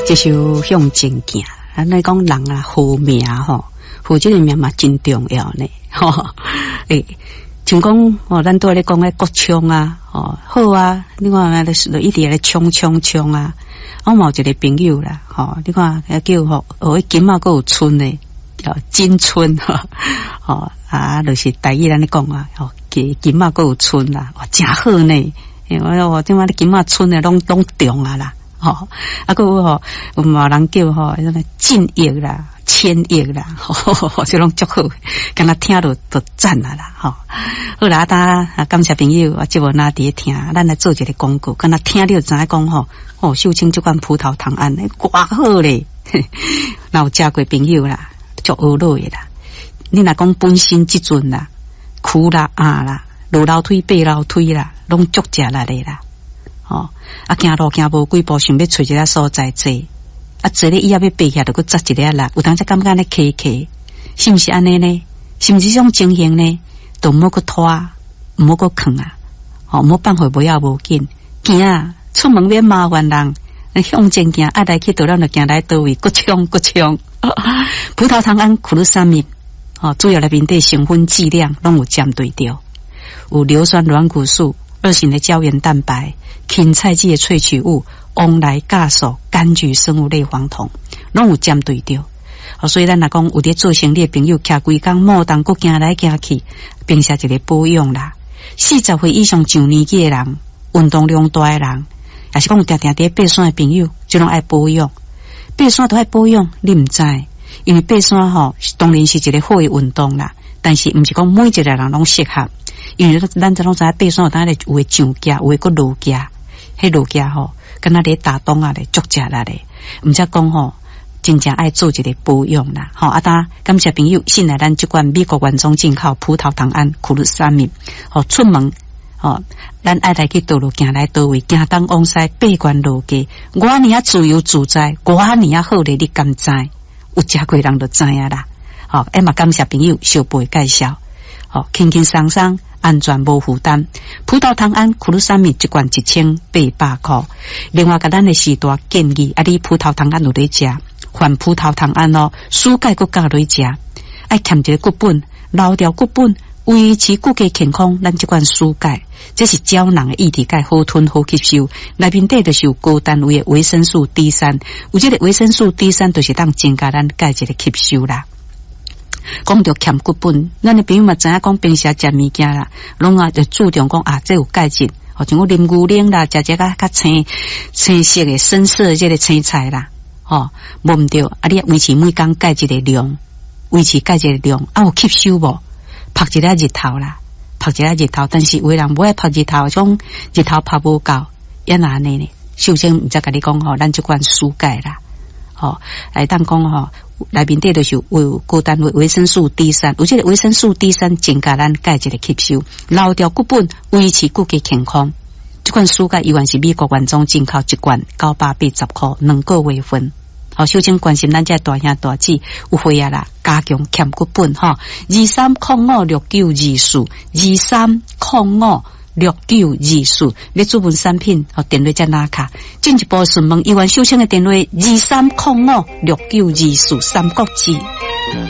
這首向前行，咱來講人啊，好命吼，好這个命嘛真重要呢。吼，欸，像講哦，咱拄咧講咧國昌啊，哦，好啊，你看就一直咧衝衝衝啊。我嘛有一个朋友啦，吼，你看叫吼，哦，金仔閣有春的，叫金春，吼啊，就是台語咱咧講啊，吼，金金仔閣有春啦，哇，誠好呢。我我這擺咧金仔春的攏攏中啊啦。吼，啊，閣有吼，有嘛人叫吼，啥物進億啦、千億啦，吼，這攏足好，敢若聽著就讚啊啦，吼。好啦，啊，感謝朋友，啊，節目若佇咧聽，咱來做一个廣告，敢若聽著知影講吼，哦，秀清這款葡萄糖胺，偌好咧，若有食過朋友啦，足學落的啦。你若講本身這陣啦，苦啦啊啦，落樓梯爬樓梯啦，攏足食力的啦。吼，啊，行路行無幾步，想欲揣一个所在坐，啊，坐咧以後欲爬起來，就閣扎一下力，有當時感覺按呢磕磕，是毋是按呢呢？是毋是這種情形呢？就毋好閣拖，毋好閣囥啊！吼，毋好放予無要無緊，行出門免麻煩人，向前行，愛來去佗咱就行來佗位，閣衝閣衝。葡萄糖胺苦魯三米，吼，主要內面底成分劑量攏有針對著，有硫酸軟骨素、二型的膠原蛋白。芹菜籽的萃取物、黃來酵素、柑橘生物類黃酮，攏有針對著。所以咱若講有佇做生理的朋友，徛規工摩動閣行來行去，平時一个保養啦。40歲以上上年紀的人，運動量大的人，也是講有定定佇爬山的朋友，這攏愛保養。爬山都愛保養，你毋知，因為爬山吼，當然是一个好的運動啦，但是毋是講每一个人攏適合，因為咱這攏知影爬山有當有的上行，有的閣落行。彼落行吼，敢若咧打樁仔咧，足食力咧。毋則講吼，真正愛做一个保養啦。吼，啊，當感謝朋友信賴咱這款美國原裝進口葡萄糖胺苦魯三米。吼，出門吼，咱愛來去佗路行來佗位，行東往西，爬懸落低，偌爾仔自由自在，偌爾仔好咧，你敢知？有食過人就知影啦。吼，欸嘛感謝朋友小貝介紹，吼，輕輕鬆鬆。安全無負擔，葡萄糖胺苦魯三米一罐1800箍。另外，共咱的時代建議，啊，你葡萄糖胺有咧食，泛葡萄糖胺哦，舒鈣閣加落食，愛欠一个骨本，留著骨本，維持骨骼健康。咱這款舒鈣，這是膠囊的液體鈣，好吞好吸收。內面底就是有高單位的維生素 D 三，有這个維生素 D 三，就是當增加咱鈣質的吸收啦。講著欠骨本，咱的朋友嘛知影講平時食物件啦，攏啊就注重講啊，這有鈣質，吼，像講啉牛奶啦，食這較較青青色的深色的這个青菜啦，吼，無毋對，啊，你維持每工鈣質的量，維持鈣質的量，啊有吸收無？曝一下日頭啦，曝一下日頭，但是有的人無愛曝日頭，講日頭曝無夠，抑若按呢呢？首先毋則共你講吼，咱這款舒鈣啦。吼，會當講吼，內面底就是有高單位維生素 D 三，有這个維生素 D 三增加咱鈣質的吸收，留著骨本，維持骨骼健康。這款舒鈣依然是美國原裝進口，一罐980箍，2個月份。好，首先關心咱這大兄大姊有血壓啦，加強欠骨本吼，23056924，23056924，你主文產品和電話才拿卡。進一步詢問依元秀清的電話：23056924三國志。